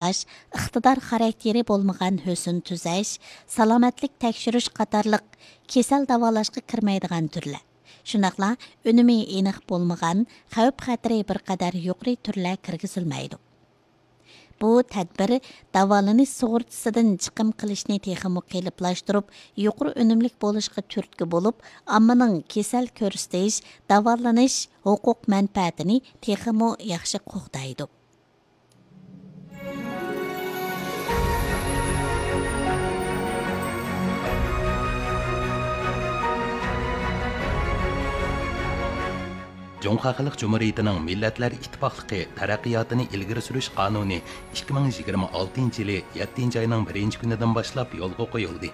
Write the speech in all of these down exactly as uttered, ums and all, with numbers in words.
ئىقتىدار خاراكتېرى بولمىغان ھۆسن تۈزەش، سالامەتلىك تەكشۈرۈش قاتارلىق كېسەل داۋالاشقا كىرمەيدىغان تۈرلەر، شۇنداقلا ئۈنۈمى ئېنىق بولمىغان، خەۋپ خەتىرى بىر قەدەر يۇقىرى تۈرلەر كىرگۈزۈلمەيدۇ. بۇ تەدبىر داۋالىنىش سۇغۇرتىسىدىن چىقىم قىلىشنى تېخىمۇ قېلىپلاشتۇرۇپ، يۇقىرى ئۈنۈملۈك بولۇشقا تۈرتكە بولۇپ، ئاممىنىڭ كېسەل كۆرسىتىش، داۋالىنىش ھوقۇق مەنپەئەتىنى تېخىمۇ ياخشى قوغدايدۇ. جۇڭخۇا خەلق جۇمھۇرىيىتىنىڭ مىللەتلەر ئىتتىپاقلىقى تەرەققىياتىنى ئىلگىرى سۈرۈش قانۇنى ئىككى مىڭ يىگىرمە ئالتىنچى يىلى يەتتىنچى ئاينىڭ بىرىنچى كۈنىدىن باشلاپ يولغا قويۇلدى.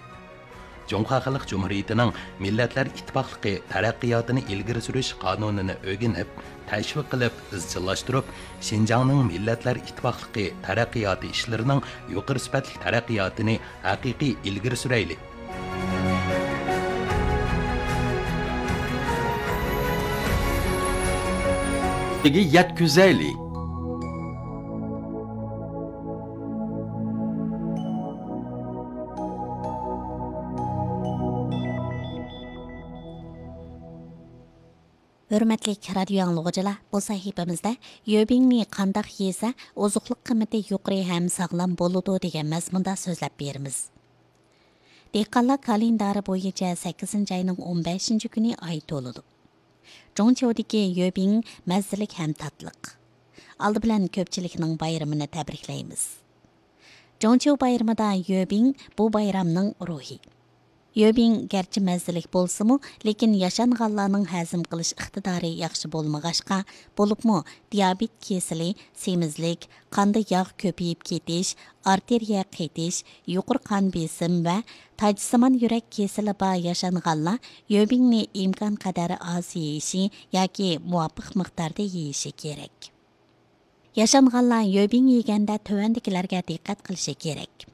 جۇڭخۇا خەلق جۇمھۇرىيىتىنىڭ مىللەتلەر ئىتتىپاقلىقى تەرەققىياتىنى ئىلگىرى سۈرۈش قانۇنىنى ئۆگىنىپ، تەشۋىق قىلىپ، ئىزچىللاشتۇرۇپ، شىنجاڭنىڭ مىللەتلەر ئىتتىپاقلىقى تەرەققىياتى ئىشلىرىنىڭ يۇقىرى سۈپەتلىك تەرەققىياتىنى ھەقىقىي ئىلگىرى سۈرەيلى. يەتكۈزەيلى. ھۆرمەتلىك رادىيو ئاڭلىغۇچىلار، بۇ سەھىپىمىزدە يۆبىڭنى قانداق يېسە ئوزۇقلۇق قىممىتى يۇقىرى ھەم ساغلام بولىدۇ دېگەن مەزمۇندا سۆزلەپ بېرىمىز. دېھقانلار كالېندارى بويىچە سەككىزىنچى ئاينىڭ ئون بەشىنچى كۈنى ئاي تولىدۇ. جۇڭچيۇدىكى يۆبىڭ مەززىلىك ھەم تاتلىق. ئالدى بىلەن كۆپچىلىكنىڭ بايرىمىنى تەبرىكلەيمىز. جۇڭچيۇ بايرىمىدا يۆبىڭ بۇ بايرامنىڭ روھى. يۆبىڭ گەرچە مەززىلىك بولسىمۇ، لېكىن ياشانغانلارنىڭ ھەزىم قىلىش ئىقتىدارى ياخشى بولمىغاچقا، بولۇپمۇ دىيابېت كېسىلى، سېمىزلىك، قاندا ياغ كۆپىيىپ كېتىش، ئارتېرىيە قېتىش، يۇقىرى قان بېسىم ۋە تاجسىمان يۈرەك كېسىلى بار ياشانغانلار يۆبىڭنى ئىمكانقەدەر ئاز يېيىشى ياكى مۇۋاپىق مىقداردا يېيىشى كېرەك. ياشانغانلار يۆبىڭ يېگەندە تۆۋەندىكىلەرگە دىققەت قىلىشى كېرەك.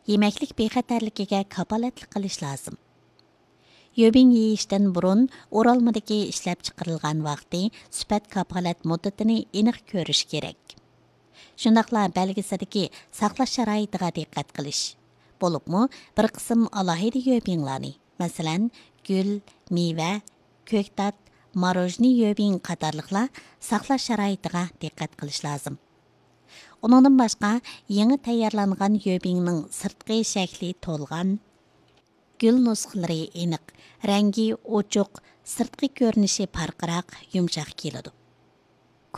يېمەكلىك بىخەتەرلىكىگە كاپالەتلىك قىلىش لازىم. يۆبىڭ يېيىشتىن بۇرۇن ئورالمىدىكى ئىشلەپچىقىرىلغان ۋاقتى، سۈپەت كاپالەت مۇددىتىنى ئېنىق كۆرۈش كېرەك. شۇنداقلا بەلگىسىدىكى ساقلاش شارائىتىغا دىققەت قىلىش. بولۇپمۇ بىر قىسىم ئالاھىدە يۆبىڭلارنى، مەسىلەن، گۈل، مېۋە، كۆكتات، ماروژنى يۆبىڭ قاتارلىقلار ساقلاش شارائىتىغا دىققەت قىلىش لازىم. ئۇنىڭدىن باشقا، يېڭى تەييارلانغان يۆبىڭنىڭ سىرتقى شەكلى تولغان، گۈل نۇسخىلىرى ئېنىق، رەڭگى ئوچۇق، سىرتقى كۆرۈنۈشى پارقىراق، يۇمشاق كېلىدۇ.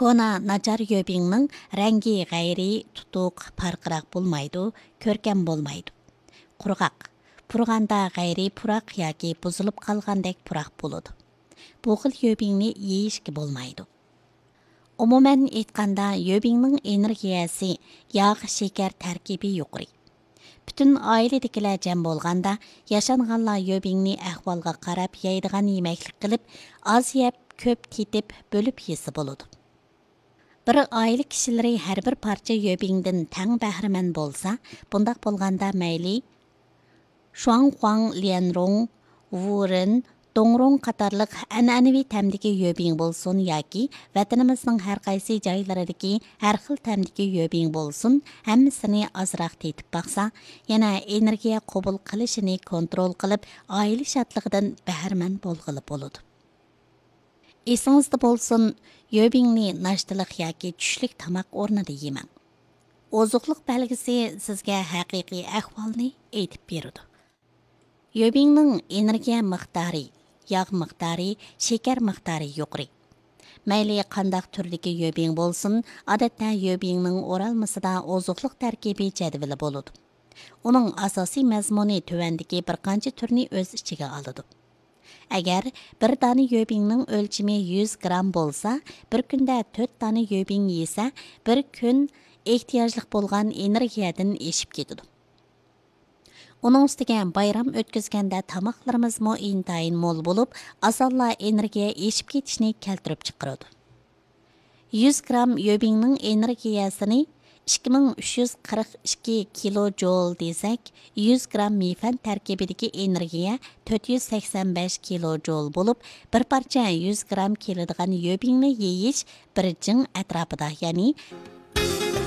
كونا، ناچار يۆبىڭنىڭ رەڭگى غەيرىي، تۇتۇق، پارقىراق بولمايدۇ، كۆركەم بولمايدۇ. قۇرغاق، پۇرىغاندا غەيرىي پۇراق ياكى بۇزۇلۇپ قالغاندەك پۇراق بولىدۇ. بۇ خىل يۆبىڭنى يېيىشكە بولمايدۇ. ئومۇمەن ئېيتقاندا، يۆبىڭنىڭ ئېنېرگىيەسى، ياغ، شېكەر تەركىبى يۇقىرى. پۈتۈن ئائىلىدىكىلەر جەم بولغاندا، ياشانغانلار يۆبىڭنى ئەھۋالغا قاراپ يەيدىغان يېمەكلىك قىلىپ، ئاز يەپ، كۆپ تېتىپ، بۆلۈپ يېسە بولىدۇ. بىر ئائىلە كىشىلىرى ھەر بىر پارچە يۆبىڭدىن تەڭ بەھرىمەن بولسا، بۇنداق بولغاندا مەيلى شۇاڭخۇاڭ، ليەنرۇڭ، ۋۇرېن، دۇڭرۇڭ قاتارلىق ئەنئەنىۋى تەمدىكى يۆبىڭ بولسۇن ياكى ۋەتىنىمىزنىڭ ھەر قايسى جايلىرىدىكى ھەر خىل تەمدىكى يۆبىڭ بولسۇن، ھەممىسىنى ئازراق تېتىپ باقسا، يەنە ئېنېرگىيە قوبۇل قىلىشىنى كونترول قىلىپ، ئائىلە شادلىقىدىن بەھرىمەن بولغىلى بولىدۇ. ئېسىڭىزدە بولسۇن، يۆبىڭنى ناشتىلىق ياكى چۈشلۈك تاماق ئورنىدا يېمەڭ. ئوزۇقلۇق بەلگىسى سىزگە ھەقىقىي ئەھۋالنى ئېيتىپ بېرىدۇ. يۆبىڭنىڭ ئېنېرگىيە مىقدارى، ياغ مىقدارى، شېكەر مىقدارى يۇقىرى. مەيلى قانداق تۈردىكى يۆبىڭ بولسۇن، ئادەتتە يۆبىڭنىڭ ئورالمىسىدا ئوزۇقلۇق تەركىبى جەدۋىلى بولىدۇ. ئۇنىڭ ئاساسىي مەزمۇنى تۆۋەندىكى بىر قانچە تۈرنى ئۆز ئىچىگە ئالىدۇ. ئەگەر بىر دانە يۆبىڭنىڭ ئۆلچىمى يۈز گرام بولسا، بىر كۈندە تۆت دانە يۆبىڭ يېسە، بىر كۈن ئېھتىياجلىق بولغان ئېنېرگىيەدىن ئېشىپ كېتىدۇ. ئۇنىڭ ئۈستىگە بايرام ئۆتكۈزگەندە تاماقلىرىمىزمۇ ئىنتايىن مول بولۇپ، ئاسانلا ئېنېرگىيە ئېشىپ كېتىشنى كەلتۈرۈپ چىقىرىدۇ. يۈز گرام يۆبىڭنىڭ ئېنېرگىيەسىنى ئىككى مىڭ ئۈچ يۈز قىرىق ئىككى كىلو جول دېسەك، يۈز گرام مىفەن تەركىبىدىكى ئېنېرگىيە تۆت يۈز سەكسەن بەش كىلو جول بولۇپ، بىر پارچە يۈز گرام كېلىدىغان يۆبىڭنى يېيىش بىر جىڭ ئەتراپىدا، يەنى